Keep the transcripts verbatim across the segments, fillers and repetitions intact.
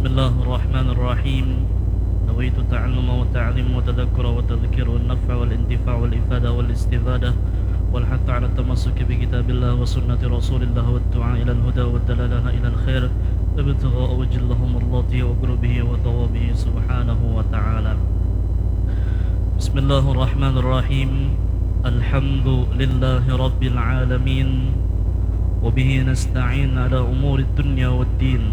بسم الله الرحمن الرحيم. نويت التعلم والتعليم والتذكر والتذكير والنفع والانتفاع والإفادة والاستفادة والحث على التمسك بكتاب الله وسنة رسول الله والدعاء إلى الهدى والدلالة إلى الخير ابتغاء وجه الله ومرضاته وقربه وثوابه سبحانه وتعالى. بسم الله الرحمن الرحيم. الحمد لله رب العالمين، وبه نستعين على أمور الدنيا والدين،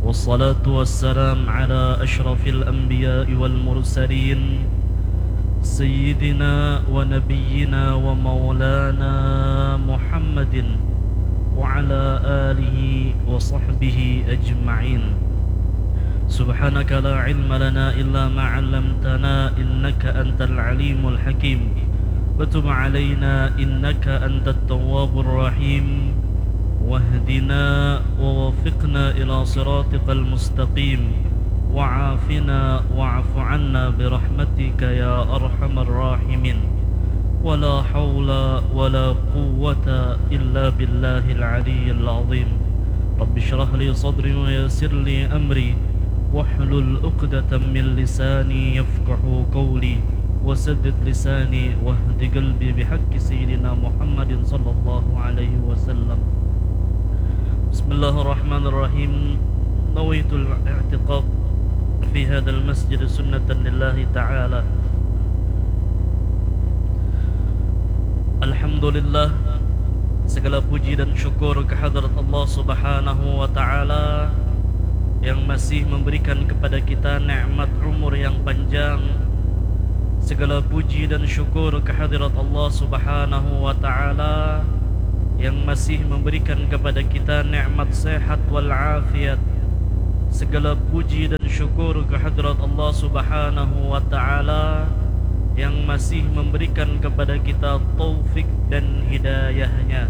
والصلاة والسلام على أشرف الأنبياء والمرسلين، سيدنا ونبينا ومولانا محمد وعلى آله وصحبه أجمعين. سبحانك لا علم لنا إلا ما علمتنا إنك أنت العليم الحكيم. وتب علينا إنك أنت التواب الرحيم. واهدنا ووفقنا إلى صراطك المستقيم. وعافنا واعف عنا برحمتك يا أرحم الراحمين. ولا حول ولا قوة إلا بالله العلي العظيم. رب اشرح لي صدري ويسر لي أمري واحلل عقدة من لساني يفقهوا قولي وسدد لساني واهد قلبي بحق سيدنا محمد صلى الله عليه وسلم. بسم الله الرحمن الرحيم. نويت الاعتكاف في هذا المسجد سنة لله تعالى. Alhamdulillah, segala puji dan syukur kehadrat Allah Subhanahu wa Ta'ala yang masih memberikan kepada kita nikmat umur yang panjang. Segala puji dan syukur kehadrat Allah Subhanahu wa Ta'ala yang masih memberikan kepada kita nikmat sehat wal afiat. Segala puji dan syukur kehadrat Allah Subhanahu wa Ta'ala yang masih memberikan kepada kita taufik dan hidayahnya.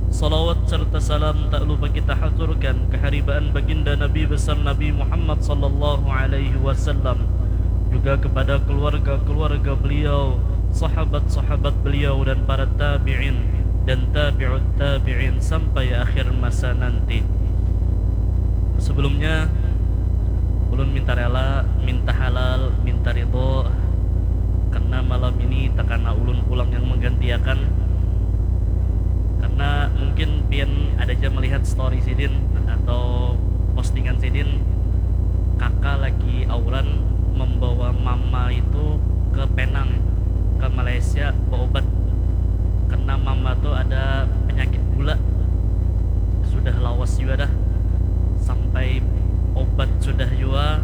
Salawat serta salam tak lupa kita haturkan keharibaan baginda Nabi besar Nabi Muhammad sallallahu alaihi wasallam, juga kepada keluarga-keluarga beliau, sahabat-sahabat beliau dan para tabi'in dan tabi'ut tabi'in sampai akhir masa nanti. Sebelumnya, ulun minta rela, minta halal, minta ridho karena malam ini takana ulun pulang yang menggantiakan. Karena mungkin pian ada ja melihat story sidin atau postingan sidin, kaka lagi auran membawa mama itu ke Penang, ke Malaysia berobat. Karena mama tu ada penyakit gula. Sudah lawas jua dah. Sampai obat sudah jua,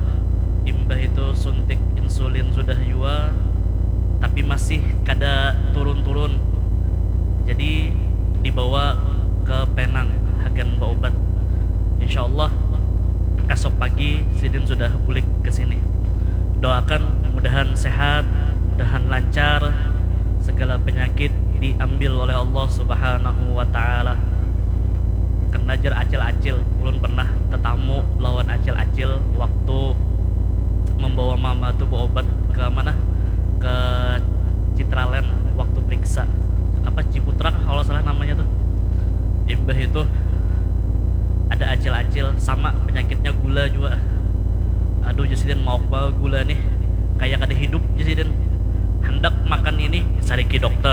imbah itu suntik insulin sudah jua, tapi masih kada turun-turun. Jadi dibawa ke Penang hagan berobat. Insya Allah esok pagi sidin sudah bulik ke sini. Doakan mudahan sehat, mudahan lancar, segala penyakit diambil oleh Allah Subhanahu wa Ta'ala. Karena jar acil-acil, ulun pernah tetamu lawan acil-acil waktu membawa mama tuh berobat ke mana? Ke Citraland waktu periksa apa, Ciputra kalau salah namanya tuh. Imbah itu ada acil-acil sama penyakitnya gula juga. Aduh, jar sidin, mauk banar gula nih, kayak kada hidup, jar sidin. Handak makan ini, sariki dokter.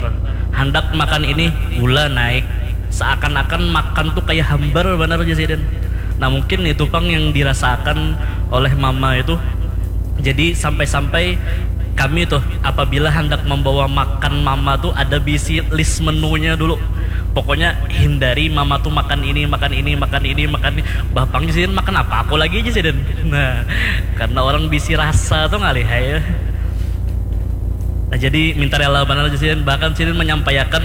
Handak makan ini, gula naik. Seakan-akan makan tuh kayak hambar banar, jar sidin. Nah, mungkin itu pang yang dirasakan oleh mama itu. Jadi sampai-sampai kami tuh apabila hendak membawa makan mama tuh ada bisi list menunya dulu. Pokoknya hindari mama tuh makan ini, makan ini, makan ini, makan ini. Bah, pang sidin makan apa aku lagi aja sidin. Nah, karena orang bisi rasa tuh ngalih ya. Nah, jadi minta rela banar aja sidin. Bahkan sidin menyampaikan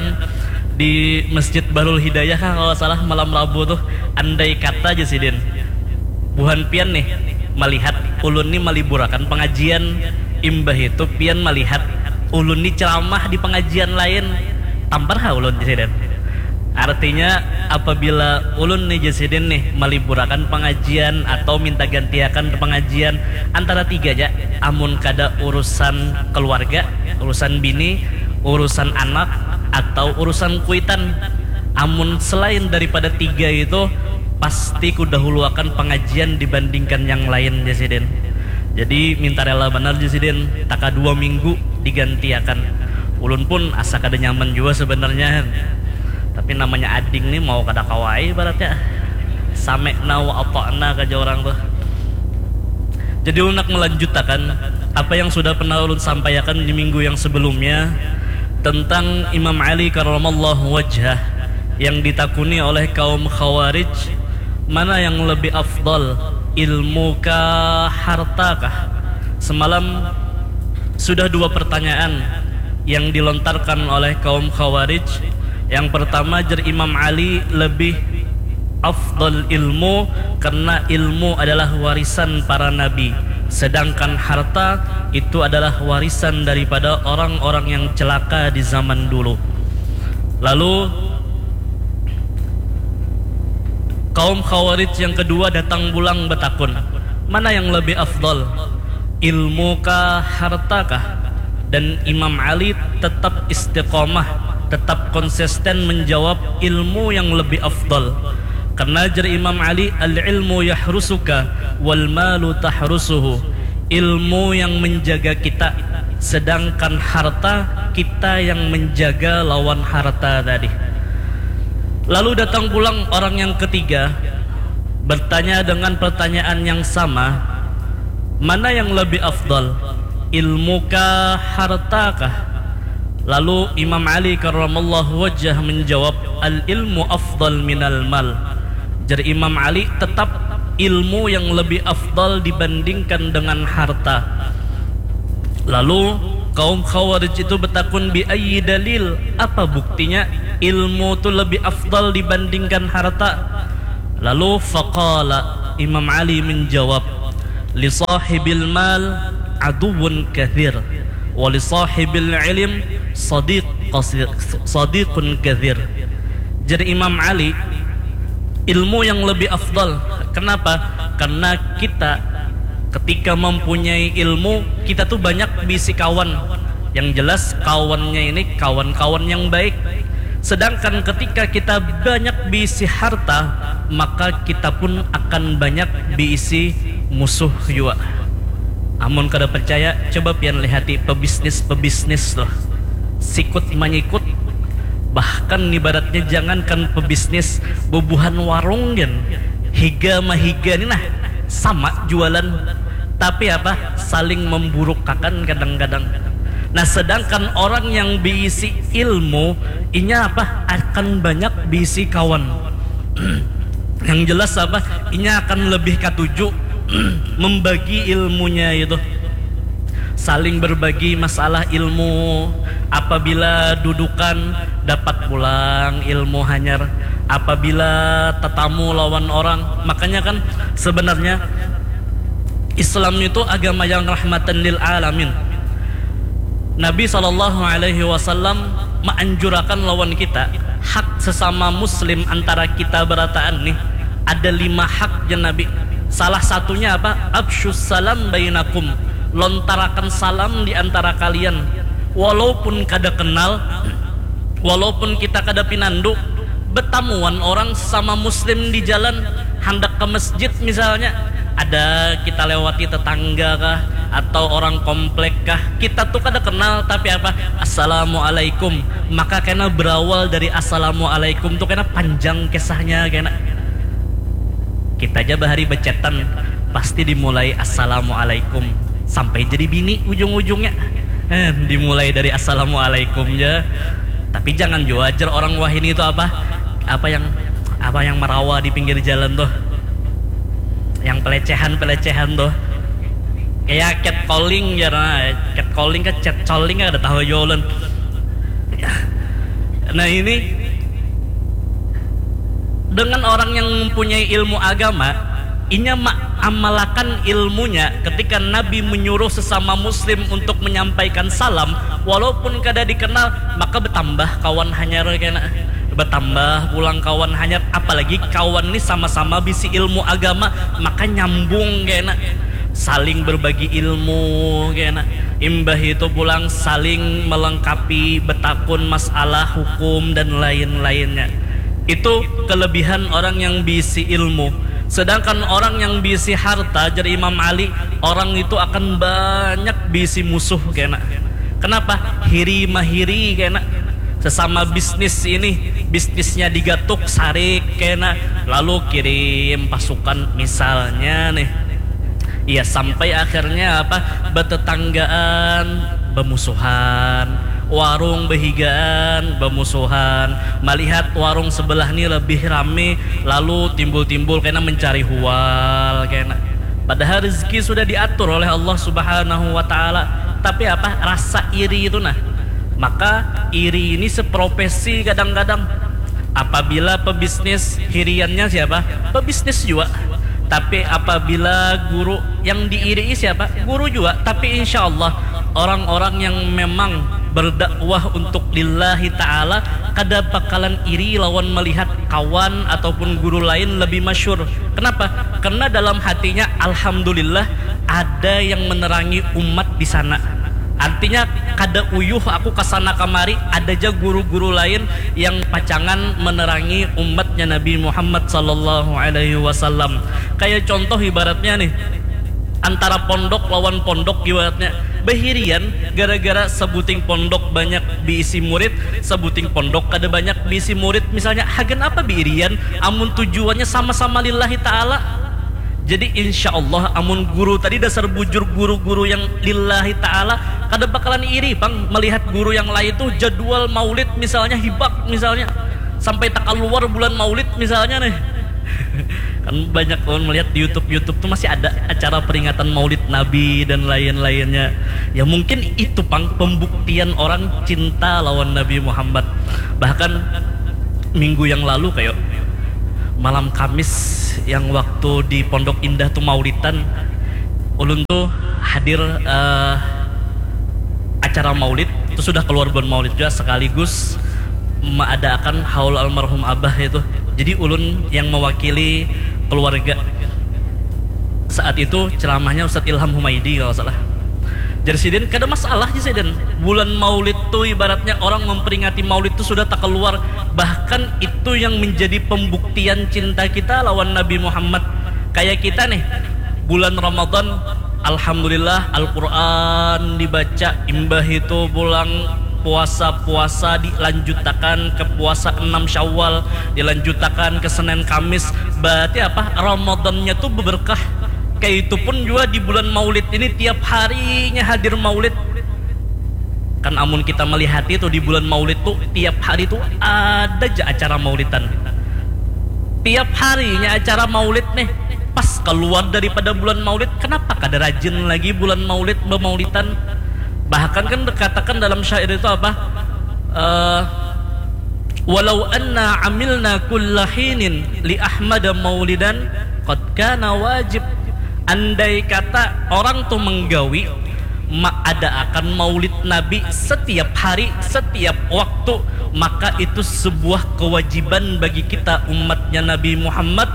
di Masjid Bahrul Hidayah kah kalau salah malam Rabu tuh, andai kata aja sidin, buhan pian nih melihat ulun nih maliburakan pengajian, imbah itu pian melihat ulun nih ceramah di pengajian lain, tampar ha ulun, jar sidin. Artinya, apabila ulun nih, jar sidin nih, maliburakan pengajian atau minta gantiakan pengajian antara tiga aja, amun kada urusan keluarga, urusan bini, urusan anak, atau urusan kuitan. Amun selain daripada tiga itu, Pasti kudahuluakan pangajian dibandingkan yang lain, jar sidin. Jadi minta rela banar, jar sidin, taka dua minggu digantiakan. Ulun pun asa kada nyaman jua sebenarnya, tapi namanya ading ni mau kada kawa ai ibaratnya. Sami'na wa ata'na ka jar urang tuh. Jadi ulun nak melanjutakan apa yang sudah pernah ulun sampaiakan di minggu yang sebelumnya tentang Imam Ali karramallahu wajhah yang ditakuni oleh kaum Khawarij, mana yang lebih afdal, ilmu kah, harta kah? Semalam sudah dua pertanyaan yang dilontarkan oleh kaum Khawarij. Yang pertama, jar Imam Ali lebih afdal ilmu karena ilmu adalah warisan para nabi, sedangkan harta itu adalah warisan daripada orang-orang yang celaka di zaman dulu. Lalu kaum Khawarij yang kedua datang pulang betakun, mana yang lebih afdal, ilmu kah, harta kah? Dan Imam Ali tetap istiqomah, tetap konsisten menjawab ilmu yang lebih afdal. Karena jar Imam Ali, al-ilmu yahrusuka wal malu tahrusuhu. Ilmu yang menjaga kita, sedangkan harta kita yang menjaga lawan harta tadi. Lalu datang pulang orang yang ketiga, bertanya dengan pertanyaan yang sama, mana yang lebih afdal, ilmu kah, harta kah? Lalu Imam Ali karramallahu wajah menjawab, al ilmu afdal minal mal. Jar Imam Ali, tetap ilmu yang lebih afdal dibandingkan dengan harta. Lalu kaum Khawarij itu betakun, bi ayyi dalil, apa buktinya ilmu tu lebih afdal dibandingkan harta? Lalu faqala, Imam Ali menjawab, li sahibil mal aduwwun kathir, wa li sahibil ilm sadiq qasir, sadiqun kathir. Jar Imam Ali, ilmu yang lebih afdal. Kenapa? Karena kita ketika mempunyai ilmu, kita tuh banyak bisi kawan. Yang jelas kawannya ini kawan-kawan yang baik. Sedangkan ketika kita banyak bisi harta, maka kita pun akan banyak bisi musuh jua. Amun kada percaya, coba pian lihati pebisnis-pebisnis tuh. Sikut manyikut. Bahkan ibaratnya jangankan pebisnis, bubuhan warung gin. Higa mahiga ni nah, sama jualan. Tapi apa? Saling memburukakan kadang-kadang. Nah, sedangkan orang yang beisi ilmu, inya apa? Akan banyak beisi kawan. Yang jelas apa? Inya akan lebih katuju membagi ilmunya itu. Saling berbagi masalah ilmu. Apabila dudukan, dapat pulang ilmu hanyar. Apabila tetamu lawan orang, makanya kan sebenarnya Islam itu agama yang rahmatan lil alamin. Nabi sallallahu alaihi wasallam maanjurakan lawan kita hak sesama muslim antara kita berataan nih. Ada lima hak jar Nabi. Salah satunya apa? Absyus salam bainakum. Lontarakan salam di antara kalian. Walaupun kada kenal, walaupun kita kada pinandu, betamuan orang sesama muslim di jalan, handak ke masjid misalnya, ada kita lewati tetangga kah atau orang komplek kah, kita tuh kada kenal tapi apa, assalamualaikum, maka kena berawal dari assalamualaikum tuh kena panjang kisahnya kena. Kita aja bahari becetan pasti dimulai assalamualaikum sampai jadi bini ujung-ujungnya. Eh, dimulai dari assalamualaikum ya. Tapi jangan jua ajar orang wahini itu apa, apa yang apa yang merawa di pinggir jalan tuh, yang pelecehan-pelecehan tuh, kayak catcalling ya, nah, catcalling ke catcalling ada tahu jualan. Nah, ini dengan orang yang mempunyai ilmu agama, inya amalakan ilmunya ketika Nabi menyuruh sesama muslim untuk menyampaikan salam walaupun kada dikenal, maka bertambah kawan hanyar kena, bertambah pulang kawan hanyar, apalagi kawan ni sama-sama bisi ilmu agama, maka nyambung kena, saling berbagi ilmu kena, imbah itu pulang saling melengkapi, betakun masalah hukum dan lain-lainnya. Itu kelebihan orang yang bisi ilmu. Sedangkan orang yang bisi harta, jar Imam Ali, orang itu akan banyak bisi musuh kena. Kenapa? Hiri mahiri kena. Sesama bisnis ini, bisnisnya digatuk, sarik kena, lalu kirim pasukan misalnya nih. Iya, sampai akhirnya apa? Betetanggaan, bemusuhan, warung behigaan, bemusuhan, melihat warung sebelah ni lebih rame, lalu timbul-timbul kena mencari hual kena. Padahal rezeki sudah diatur oleh Allah Subhanahu wa Ta'ala, tapi apa? Rasa iri itu nah. Maka iri ini seprofesi kadang-kadang. Apabila pebisnis, hiriannya siapa? Pebisnis juga. Tapi apabila guru, yang diirii siapa? Guru juga. Tapi insya Allah, orang-orang yang memang berdakwah untuk lillahi ta'ala kada bakalan iri lawan melihat kawan ataupun guru lain lebih masyhur. Kenapa? Karena dalam hatinya, alhamdulillah, ada yang menerangi umat di sana. Artinya, kada uyuh aku kasana kamari, ada ja guru-guru lain yang pacangan menerangi umatnya Nabi Muhammad sallallahu alaihi wasallam. Kayak contoh ibaratnya nih, antara pondok lawan pondok ibaratnya, behirian gara-gara sebuting pondok banyak diisi murid, sebuting pondok kada banyak diisi murid. Misalnya, hagan apa beirian amun tujuannya sama-sama lillahi ta'ala? Jadi insya Allah, amun guru tadi dasar bujur guru-guru yang lillahi ta'ala, kada bakalan iri pang melihat guru yang lain tuh jadwal maulid misalnya hibak misalnya, sampai takaluar bulan maulid misalnya nih. Kan banyak kawan melihat di YouTube, YouTube tuh masih ada acara peringatan maulid Nabi dan lain-lainnya. Ya mungkin itu pang pembuktian orang cinta lawan Nabi Muhammad. Bahkan minggu yang lalu kayak malam Kamis yang waktu di Pondok Indah tuh maulidan, ulun tuh hadir eh, acara maulid itu sudah keluar bulan maulid juga sekaligus meadakan haul almarhum abah itu. Jadi ulun yang mewakili keluarga. Saat itu ceramahnya Ustadz Ilham Humaidi kalau salah. Jadi sidin kada masalah sih sidin. Bulan maulid tuh ibaratnya orang memperingati maulid tuh sudah tak keluar. Bahkan itu yang menjadi pembuktian cinta kita lawan Nabi Muhammad. Kayak kita nih, bulan Ramadan, alhamdulillah Al-Quran dibaca, imbah itu pulang puasa-puasa dilanjutakan ke puasa enam Syawal, dilanjutakan ke Senin Kamis. Berarti apa? Ramadannya tuh berkah. Kayak itu pun juga di bulan Maulid ini tiap harinya hadir Maulid. Kan amun kita melihat itu di bulan Maulid tuh tiap hari tuh ada aja acara maulidan. Tiap harinya acara maulid nih. Pas keluar daripada bulan maulid, kenapa kada rajin lagi bulan maulid bemaulidan? Bahkan kan dikatakan dalam syair itu apa? Uh, walau anna amilna kullahinin li Ahmad maulidan qad kana wajib. Andai kata orang tuh menggawi ada akan maulid Nabi setiap hari, setiap waktu, maka itu sebuah kewajiban bagi kita umatnya Nabi Muhammad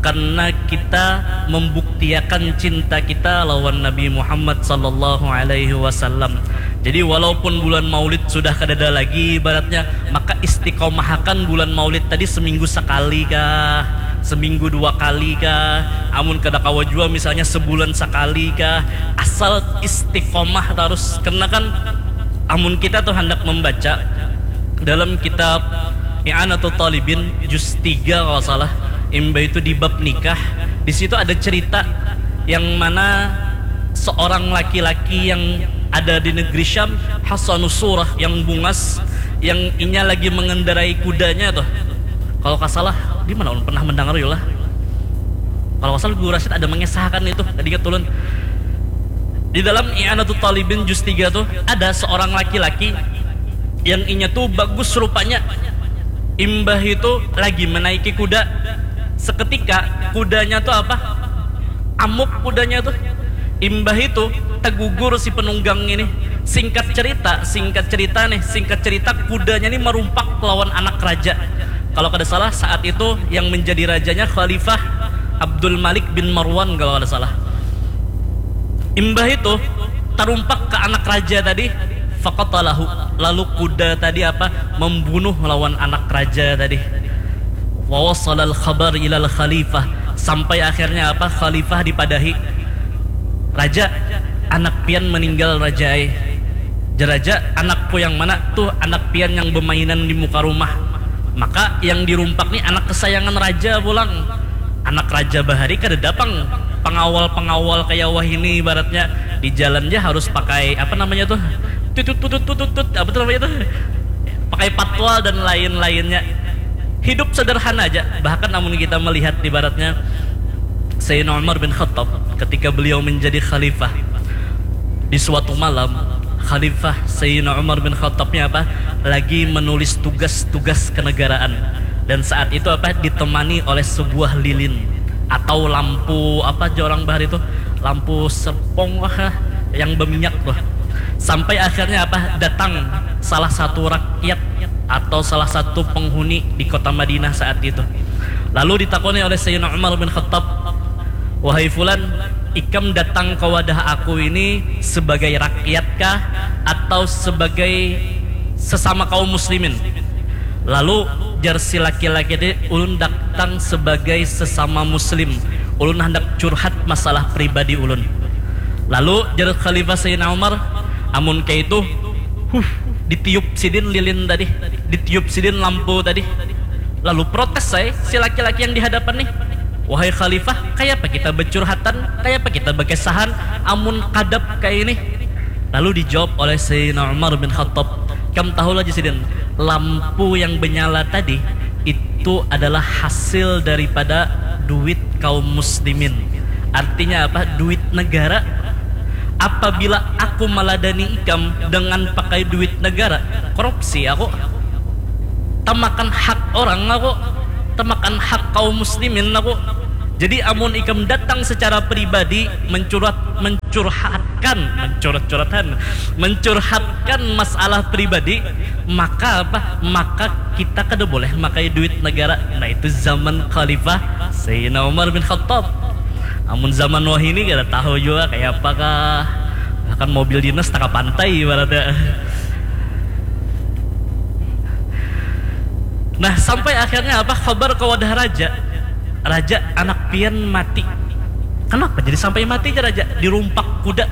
karena kita membuktiakan cinta kita lawan Nabi Muhammad sallallahu alaihi wasallam. Jadi walaupun bulan Maulid sudah kadada lagi ibaratnya, maka istiqomahakan bulan Maulid tadi seminggu sekali kah, seminggu dua kali kah, amun kada kawa jua misalnya sebulan sekali kah, asal istiqomah terus. Karena kan amun kita tuh hendak membaca dalam kitab I'anatul Talibin juz tiga kalau salah, imbah itu di bab nikah, di situ ada cerita yang mana seorang laki-laki yang ada di negeri Syam, Hasanus Surah, yang bungas, yang inya lagi mengendarai kudanya tuh. Kalau nggak salah, di mana ulun pernah mendengar yolah. Kalau nggak salah Guru Rasid ada mengisahkan itu, tadi ingat ulun. Di dalam I'anatul Talibin juz tiga tuh ada seorang laki-laki yang inya tuh bagus rupanya. Imbah itu lagi menaiki kuda. Seketika kudanya tuh apa? Amuk kudanya tuh. Imbah itu tegugur si penunggang ini. Singkat cerita, singkat cerita nih, singkat cerita kudanya ini merumpak lawan anak raja. Kalau kada salah saat itu yang menjadi rajanya Khalifah Abdul Malik bin Marwan kalau kada salah. Imbah itu tarumpak ke anak raja tadi, faqatalahu. Lalu kuda tadi apa? Membunuh lawan anak raja tadi. Wa wasalal khabar ilal khalifah, sampai akhirnya apa, khalifah dipadahi, "Raja, anak pian meninggal, Raja ai." Jar raja, "Anakku yang mana?" "Tuh, anak pian yang bemainan di muka rumah." Maka yang dirumpak ni anak kesayangan raja pulang. Anak raja bahari kadada pang pengawal-pengawal kaya wahini, ibaratnya di jalan ja harus pakai apa namanya tuh, tutut tutut tutut tut, apa tuh namanya tuh, pakai patwal dan lain-lainnya. Hidup sederhana aja. Bahkan amun kita melihat ibaratnya Sayyidina Umar bin Khattab ketika beliau menjadi khalifah, di suatu malam Khalifah Sayyidina Umar bin Khattab ni apa, lagi menulis tugas-tugas kenegaraan, dan saat itu apa, ditemani oleh sebuah lilin atau lampu apa aja orang bahari itu, lampu serpong kah, yang berminyak tuh. Sampai akhirnya apa, datang salah satu rakyat atau salah satu penghuni di kota Madinah saat itu. Lalu ditakoni oleh Sayyidina Umar bin Khattab, "Wahai fulan, ikam datang ke wadah aku ini sebagai rakyat kah atau sebagai sesama kaum muslimin?" Lalu jar si laki-laki tadi, "Ulun datang sebagai sesama muslim. Ulun hendak curhat masalah pribadi ulun." Lalu jar Khalifah Sayyidina Umar, "Amun kayak itu, huh, ditiup sidin lilin tadi, ditiup sidin lampu tadi." Lalu protes saya si laki-laki yang di hadapan nih, "Wahai Khalifah, kayapa kita bercurhatan, kayapa kita berkesahan, amun kadap kayak ini?" Lalu dijawab oleh Sayyidina Umar bin Khattab, "Kam tahu lagi sidin, lampu yang menyala tadi itu adalah hasil daripada duit kaum muslimin." Artinya apa? Duit negara. Apabila aku meladani ikam dengan pakai duit negara, korupsi aku, tamakan hak orang aku, tamakan hak kaum muslimin aku. Jadi amun ikam datang secara pribadi mencurat, mencurhatkan, mencurat-curatan, mencurhatkan masalah pribadi, maka apa? Maka kita kada boleh makai duit negara. Nah, itu zaman Khalifah Sayyidina Umar bin Khattab. Amun zaman wahini kada tahu juga kayak apakah, bahkan mobil dinas tengah pantai ibaratnya. Nah, sampai akhirnya apa, khabar ke wadah raja, "Raja, anak pian mati." "Kenapa jadi sampai mati aja, Raja?" "Dirumpak kuda."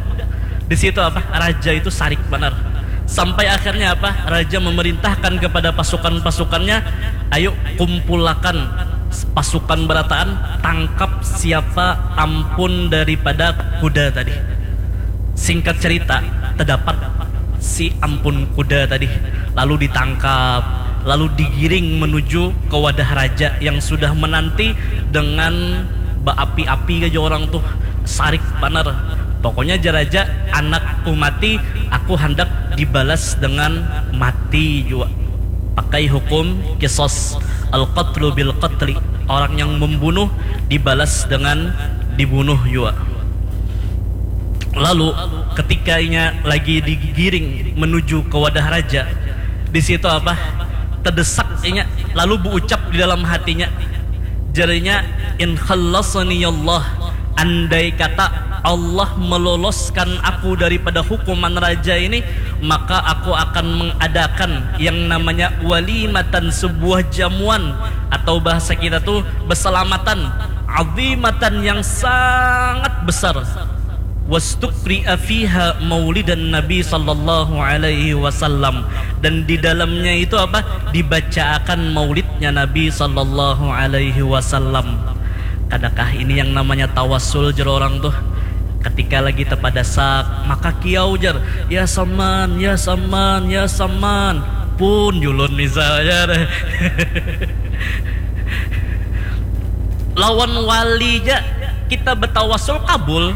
Di situ apa, raja itu sarik banar. Sampai akhirnya apa, raja memerintahkan kepada pasukan-pasukannya, "Ayo kumpulakan pasukan berataan, tangkap siapa ampun daripada kuda tadi." Singkat cerita, terdapat si ampun kuda tadi, lalu ditangkap, lalu digiring menuju ke wadah raja yang sudah menanti dengan baapi-api aja orang tuh, sarik banar. Pokoknya jar raja, "Anakku mati, aku hendak dibalas dengan mati jua." Pakai hukum kisos, al-qatlu bil qatli. Orang yang membunuh dibalas dengan dibunuh jua. Lalu ketika inya lagi digiring menuju ke wadah raja, di situ apa, terdesak inya, lalu berucap di dalam hatinya, jarinya, "In khallasani Allah, andai kata Allah meloloskan aku daripada hukuman raja ini, maka aku akan mengadakan yang namanya walimatan, sebuah jamuan, atau bahasa kita tuh beselamatan, azimatan, yang sangat besar." Wastukri'a fiha maulidan Nabi sallallahu alaihi wasallam, dan di dalamnya itu apa, dibacaakan maulidnya Nabi sallallahu alaihi wasallam. Kadakah ini yang namanya tawasul, jar orang tuh? Ketika lagi tepadasak, maka kiau jar, "Ya saman, ya saman, ya saman." Pun julun misalnya deh. Lawan wali ja kita betawasul kabul,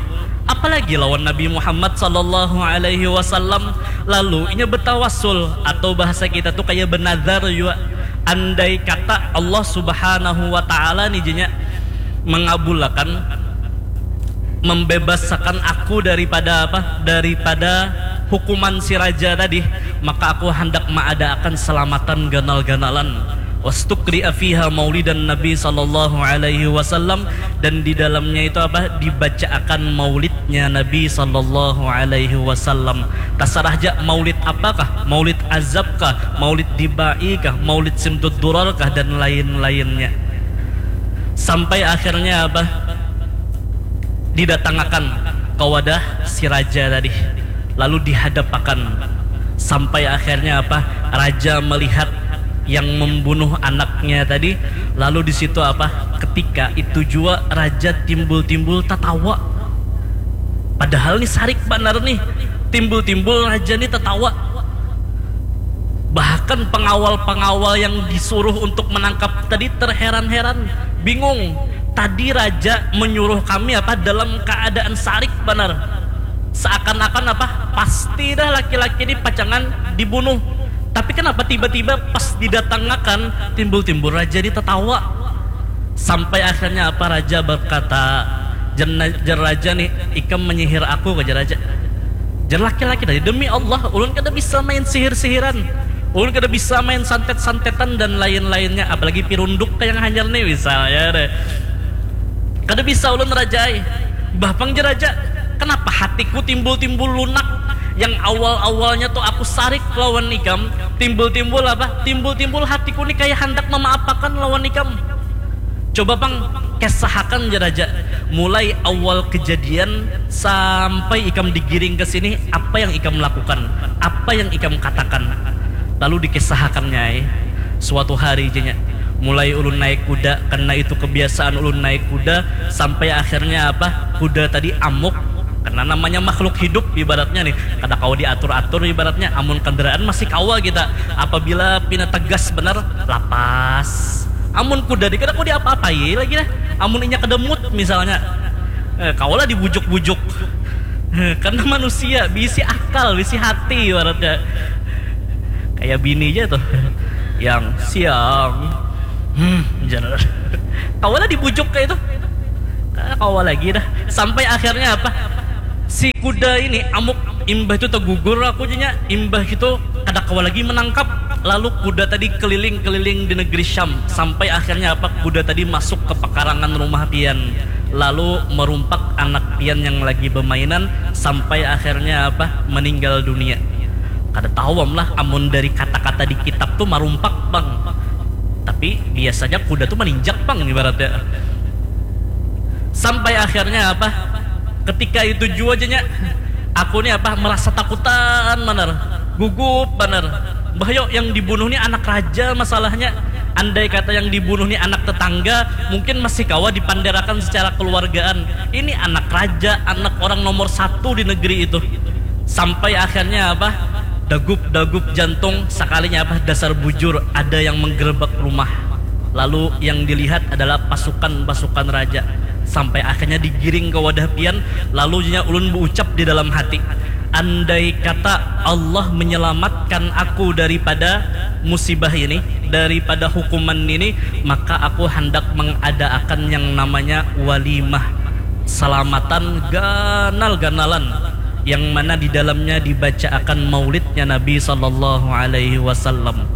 apalagi lawan Nabi Muhammad sallallahu alaihi wasallam. Lalu inya betawasul, atau bahasa kita tuh kayak benazar juga, andai kata Allah subhanahu wa ta'ala nih jenya mengabulakan, membebasakan aku daripada apa, daripada hukuman si raja tadi, maka aku hendak maadaakan selamatan ganal-ganalan. Wastukri'a fiha maulidan Nabi sallallahu alaihi wasallam, dan di dalamnya itu apa, dibacaakan maulidnya Nabi sallallahu alaihi wasallam. Tasarah ja maulid apakah, maulid azab kah, maulid dibai kah, maulid simtud durar kah, dan lain-lainnya. Sampai akhirnya apa? Didatangakan ka wadah si raja tadi, lalu dihadapakan. Sampai akhirnya apa? Raja melihat yang membunuh anaknya tadi, lalu di situ apa? Ketika itu jua raja timbul-timbul tatawa. Padahal nih sarik banar nih, timbul-timbul raja nih tatawa. Bahkan pengawal-pengawal yang disuruh untuk menangkap tadi terheran-heran, bingung. Tadi raja menyuruh kami apa dalam keadaan sarik banar. Seakan-akan apa pasti dah laki-laki ini pacangan dibunuh. Tapi kenapa tiba-tiba pas didatangakan timbul-timbul raja ini tatawa? Sampai akhirnya apa raja berkata, jar raja nih, ikam menyihir aku, kejar raja. Jar laki-laki tadi, demi Allah, ulun kada bisa main sihir-sihiran. Ulun kada bisa main santet-santetan dan lain-lainnya, apalagi pirunduk kayak yang hanyar nih misalnya deh. Kada bisa ulun raja ai. Bah pang jar raja, kenapa hatiku timbul-timbul lunak? Yang awal-awalnya tuh aku sarik lawan ikam, timbul-timbul apa? Timbul-timbul hatiku nih kayak handak memaapakan lawan ikam. Coba pang kesahakan jar raja, mulai awal kejadian sampai ikam digiring ke sini, apa yang ikam lakukan, apa yang ikam katakan. Lalu dikesahakannya ai. Suatu hari jenya, mulai ulun naik kuda, karena itu kebiasaan ulun naik kuda, sampai akhirnya apa, kuda tadi amuk. Karena namanya makhluk hidup ibaratnya nih, kada kawa diatur-atur ibaratnya. Amun kendaraan masih kawa kita, apabila pina tegas benar, lapas. Amun kuda di kada kawa diapa-apai lagi dah. Amun inya kada mood misalnya, eh, kawalah dibujuk-bujuk. Karena manusia bisi akal, bisi hati ibaratnya. Kayak bini aja tuh, yang siang, hmm, jangan. Kawalah dibujuk kayak itu. Kawa lagi dah. Sampai akhirnya apa? Si kuda ini amuk, imbah itu tegugur aku jenya, imbah itu kada kawa lagi menangkap. Lalu kuda tadi keliling-keliling di negeri Syam, sampai akhirnya apa? Kuda tadi masuk ke pekarangan rumah pian, lalu merumpak anak pian yang lagi bermainan, sampai akhirnya apa? Meninggal dunia. Kada tahu am lah, amun dari kata-kata di kitab tuh marumpak pang, tapi biasanya kuda tuh maninjak pang ibaratnya. Sampai akhirnya apa, ketika itu jua jenya, aku nih apa, merasa takutan banar, gugup banar. Bahyo, yang dibunuh nih anak raja masalahnya. Andai kata yang dibunuh nih anak tetangga, mungkin masih kawa dipanderakan secara keluargaan. Ini anak raja, anak orang nomor satu di negeri itu. Sampai akhirnya apa, dagup-dagup jantung, sekalinya apa, dasar bujur ada yang menggerebek rumah. Lalu yang dilihat adalah pasukan-pasukan raja. Sampai akhirnya digiring ke wadah pian, lalu nya ulun berucap di dalam hati, andai kata Allah menyelamatkan aku daripada musibah ini, daripada hukuman ini, maka aku hendak mengadaakan yang namanya walimah, salamatan ganal-ganalan, yang mana di dalamnya dibacaakan maulidnya Nabi Sallallahu Alaihi Wasallam.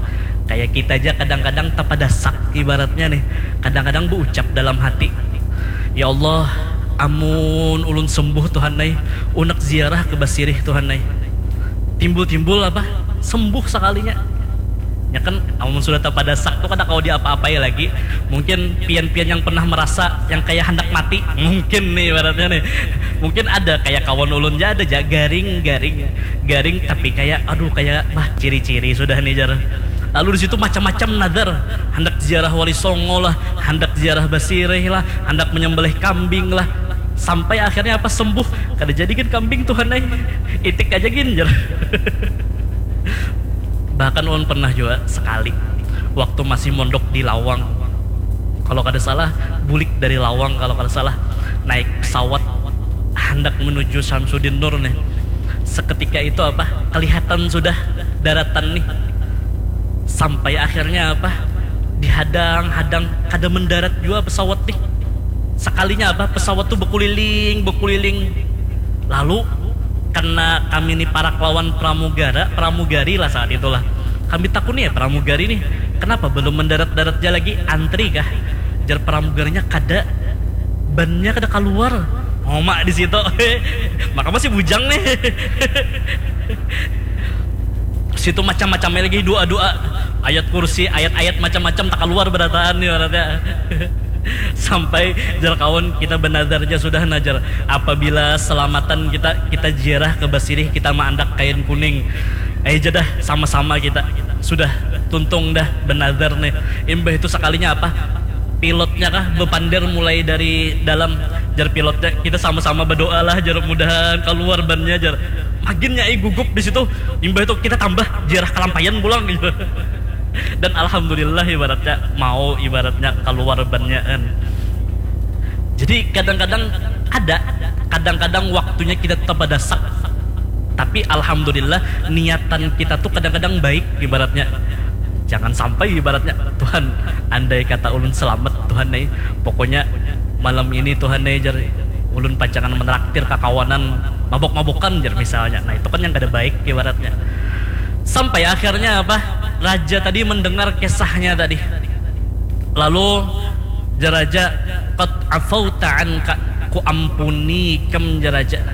Kayak kita aja kadang-kadang tapadasak ibaratnya nih, kadang-kadang berucap dalam hati, ya Allah, amun ulun sembuh Tuhan ai, unek ziarah ke Basirih Tuhan ai. Timbul-timbul apa, sembuh sekalinya. Ya kan, amun sudah tapadasak tuh kada kawa diapa-apai lagi. Mungkin pian-pian yang pernah merasa yang kayak hendak mati, mungkin nih ibaratnya nih, mungkin ada kayak kawan ulun ja, ada ja garing, garing, garing, tapi kayak aduh, kayak bah, ciri-ciri sudah nih jar. Lalu di situ macam-macam nadar, hendak ziarah Wali Songo lah, hendak ziarah Basirih lah, hendak menyembelih kambing lah. Sampai akhirnya apa, sembuh. Kada jadi gin kambing Tuhan ai, itik aja gin jar. Bahkan ulun pernah juga sekali waktu masih mondok di Lawang, kalau kada salah, bulik dari Lawang kalau kada salah, naik pesawat hendak menuju Samsudin Nur nih. Seketika itu apa, kelihatan sudah daratan nih. Sampai akhirnya apa, dihadang-hadang, kada mendarat jua pesawat nih. Sekalinya apa, pesawat tuh bekuliling, bekuliling. Lalu karena kami ni parak lawan pramugara, pramugari lah saat itulah. Kami takuni ya pramugari nih, kenapa belum mendarat-darat ja lagi, antri kah? Jar pramugarinya, kada, bannya kada kaluar. Oma di situ. Maka masih bujang nih. Situ macam-macamnya lagi, doa-doa, ayat kursi, ayat-ayat macam-macam tak kaluar berataan nih ibaratnya. Sampai jar kawan kita benazar ja sudah nah jar, apabila selamatan kita, kita ziarah ke Basirih, kita maandak kain kuning. Ai ja dah, sama-sama kita. Sudah tuntung dah benazar nih. Imbah itu sakalinya apa, pilotnya kah bepander mulai dari dalam, jar pilotnya, kita sama-sama berdoa lah jar, mudahan keluar bannya jar. Maginnya ai gugup di situ. Imbah itu kita tambah ziarah kalampaian pulang gitu. Dan alhamdulillah ibaratnya mau ibaratnya keluar bannya kan. Jadi kadang-kadang ada, kadang-kadang waktunya kita tetap ada sak. Tapi alhamdulillah niatan kita tuh kadang-kadang baik ibaratnya. Jangan sampai ibaratnya, Tuhan, andai kata ulun selamat, Tuhan nih, pokoknya malam ini, Tuhan nih, jar, ulun pacangan menraktir kakawanan mabok-mabokan jar misalnya. Nah, itu kan yang kada baik ibaratnya. Sampai akhirnya apa? Raja tadi mendengar kisahnya tadi. Lalu jar raja, "Qad afauta anka, ku ampuni ikam," jar raja.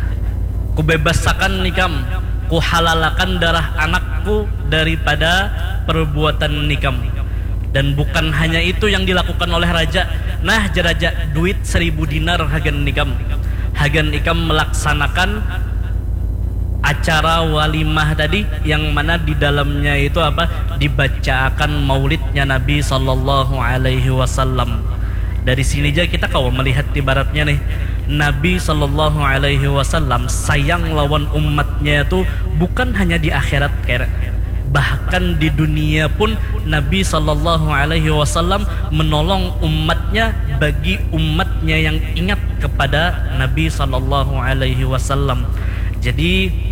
"Ku bebasakan ikam, ku halalakan darah anakku daripada perbuatan ikam." Dan bukan hanya itu yang dilakukan oleh raja. Nah, jar raja, duit seribu dinar hagan ikam. Hagan ikam melaksanakan acara walimah tadi, yang mana di dalamnya itu apa, dibacaakan maulidnya Nabi sallallahu alaihi wasallam. Dari sini aja kita kawa melihat ibaratnya nih, Nabi sallallahu alaihi wasallam sayang lawan umatnya itu bukan hanya di akhirat, kayak bahkan di dunia pun Nabi sallallahu alaihi wasallam menolong umatnya bagi umatnya yang ingat kepada Nabi sallallahu alaihi wasallam. Jadi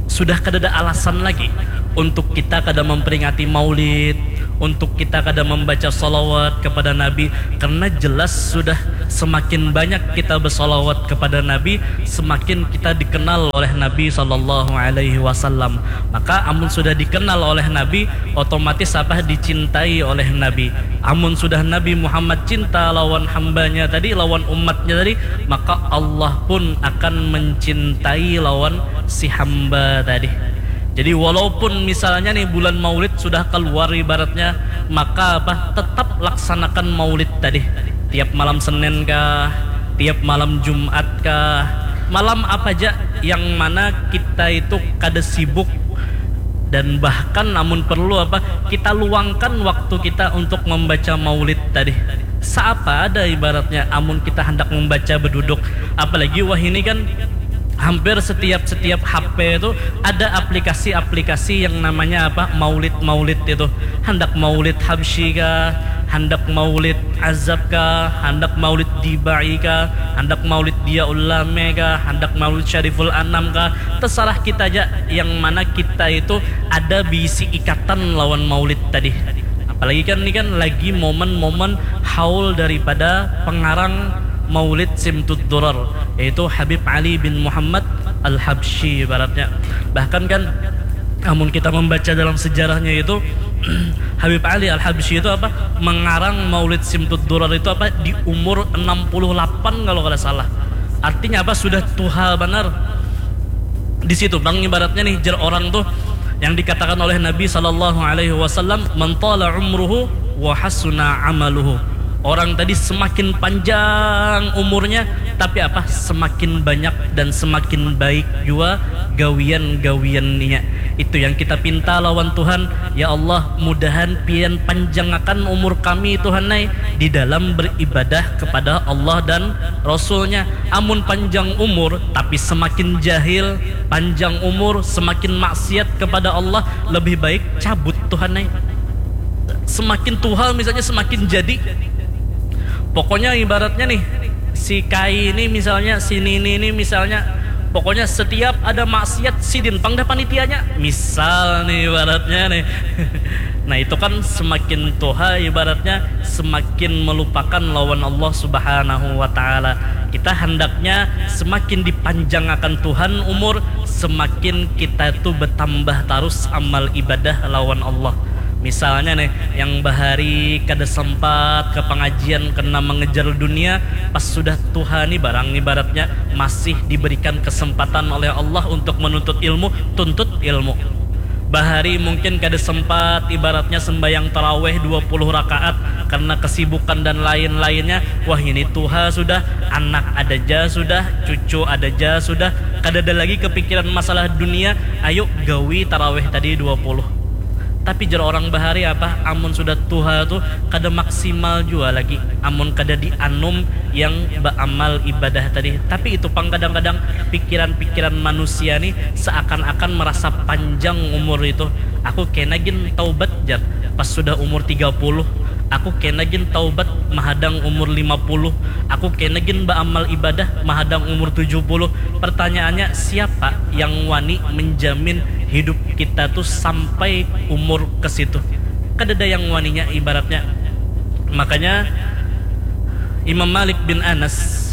sudah kada ada alasan lagi untuk kita kada memperingati maulid, untuk kita kada membaca salawat kepada Nabi, karena jelas sudah semakin banyak kita bersalawat kepada Nabi, semakin kita dikenal oleh Nabi sallallahu alaihi wasallam. Maka amun sudah dikenal oleh Nabi, otomatis apa, dicintai oleh Nabi. Amun sudah Nabi Muhammad cinta lawan hambanya tadi, lawan umatnya tadi, maka Allah pun akan mencintai lawan si hamba tadi. Jadi walaupun misalnya nih bulan Maulid sudah keluar ibaratnya, maka apa, tetap laksanakan Maulid tadi. Tiap malam Senin kah, tiap malam Jumat kah, malam apa aja yang mana kita itu kada sibuk, dan bahkan amun perlu apa, kita luangkan waktu kita untuk membaca Maulid tadi. Saapa ada ibaratnya amun kita hendak membaca beduduk, apalagi wah ini kan hampir setiap setiap H P itu ada aplikasi-aplikasi yang namanya apa, maulid-maulid itu. Hendak maulid Habsyi kah, hendak maulid Azab kah, hendak maulid Dibai kah, hendak maulid Diyaul Lame kah, hendak maulid Syariful Anam kah, terserah kita aja yang mana kita itu ada bisi ikatan lawan maulid tadi. Apalagi kan ini kan lagi momen-momen haul daripada pengarang Maulid Simtud Durar, yaitu Habib Ali bin Muhammad Al-Habsyi ibaratnya. Bahkan kan amun kita membaca dalam sejarahnya itu, Habib Ali Al-Habsyi itu apa, mengarang Maulid Simtud Durar itu apa, di umur enam puluh lapan kalau kada salah. Artinya apa, sudah tuha banar. Di situ bang ibaratnya nih, jer orang tuh yang dikatakan oleh Nabi sallallahu alaihi wasallam, "Man tala umruhu wa hasuna amaluhu." Orang tadi semakin panjang umurnya, tapi apa? Semakin banyak dan semakin baik jua gawian-gawiannya. Itu yang kita pinta lawan Tuhan, ya Allah, mudahan pian panjangakan umur kami, Tuhan ai, di dalam beribadah kepada Allah dan Rasulnya. Amun panjang umur tapi semakin jahil, panjang umur semakin maksiat kepada Allah, lebih baik cabut, Tuhan ai. Semakin tuha misalnya semakin jadi. Pokoknya ibaratnya nih, si Kai ini misalnya, si Nini ini misalnya, pokoknya setiap ada maksiat sidin pang dah panitianya. Misal nih ibaratnya nih. Nah, itu kan semakin tuha ibaratnya semakin melupakan lawan Allah Subhanahu wa taala. Kita hendaknya semakin dipanjangakan Tuhan umur, semakin kita tuh bertambah terus amal ibadah lawan Allah. Misalnya nih, yang bahari kada sempat ke pengajian kena mengejar dunia, pas sudah tuha nih barang ibaratnya masih diberikan kesempatan oleh Allah untuk menuntut ilmu, tuntut ilmu. Bahari mungkin kada sempat ibaratnya sembayang taraweh dua puluh rakaat karena kesibukan dan lain-lainnya. Wah, ini tuha sudah, anak ada ja sudah, cucu ada ja sudah, kada ada lagi kepikiran masalah dunia. Ayo gawi taraweh tadi dua puluh. Tapi jar orang bahari apa, amun sudah tuha tu kada maksimal jua lagi amun kada dianum yang baamal ibadah tadi. Tapi itu pang kadang-kadang pikiran-pikiran manusia nih seakan-akan merasa panjang umur itu. Aku kena gin taubat jar pas sudah umur tiga puluh. Aku kena gin taubat mahadang umur lima puluh. Aku kena gin baamal ibadah mahadang umur tujuh puluh. Pertanyaannya, siapa yang wani menjamin hidup kita tuh sampai umur ke situ? Kadada yang waninya ibaratnya. Makanya Imam Malik bin Anas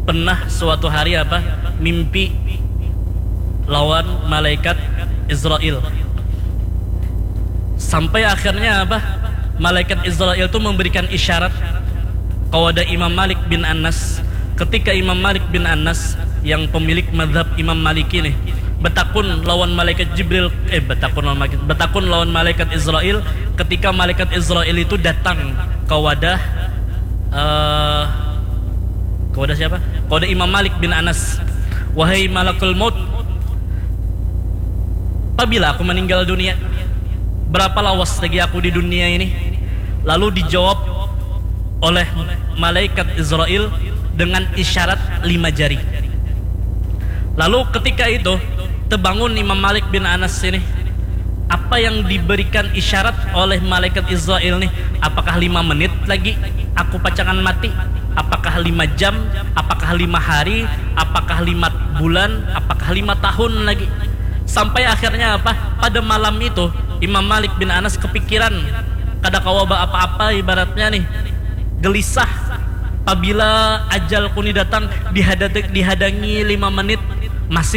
pernah suatu hari apa, mimpi lawan malaikat Israel. Sampai akhirnya apa, malaikat Israel tuh memberikan isyarat kepada Imam Malik bin Anas. Ketika Imam Malik bin Anas yang pemilik madhab Imam Maliki nih betakun lawan malaikat Jibril, eh betakun lawan malaikat, betakun lawan malaikat Israel, ketika malaikat Israel itu datang ke wadah, eh ke wadah siapa? Ke wadah Imam Malik bin Anas. Wahai malakul maut, pabila aku meninggal dunia, berapa lawas lagi aku di dunia ini? Lalu dijawab oleh malaikat Israel dengan isyarat lima jari. Lalu ketika itu terbangun Imam Malik bin Anas ini. Apa yang diberikan isyarat oleh malaikat Israel nih? Apakah lima menit lagi aku pacangan mati? Apakah lima jam? Apakah lima hari? Apakah lima bulan? Apakah lima tahun lagi? Sampai akhirnya apa? Pada malam itu Imam Malik bin Anas kepikiran, kada kawa ba apa-apa ibaratnya nih, gelisah. Pabila ajalku ni datang dihada-, dihadangi lima menit, masih